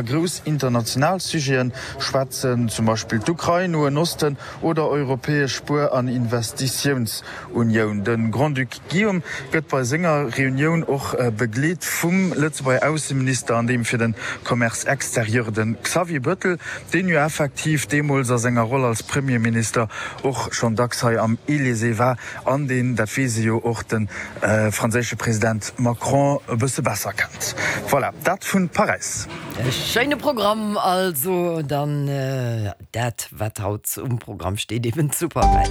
Grouss international Sujeten schwätzen, zum Beispill d'Ukrain, Noen Osten oder europäesch Spuer an Investitiounsunioun. De Grand-Duc Guillaume gëtt bei senger Reunioun och begleet vum Lëtzebuerger Ausseminister an deem fir de Commerce extérieur, de Xavier Bettel, deen jo effektiv deemools a senger Roll als Premierminister och schonn dacks hei am Elysée war an deen, dat weess ee jo, och de franséische President Macron e bësse besser kennt. Voilà, dat vu Paräis. E schéine Programm also dann dat wat haut um Programm steet, eben zu Paräis.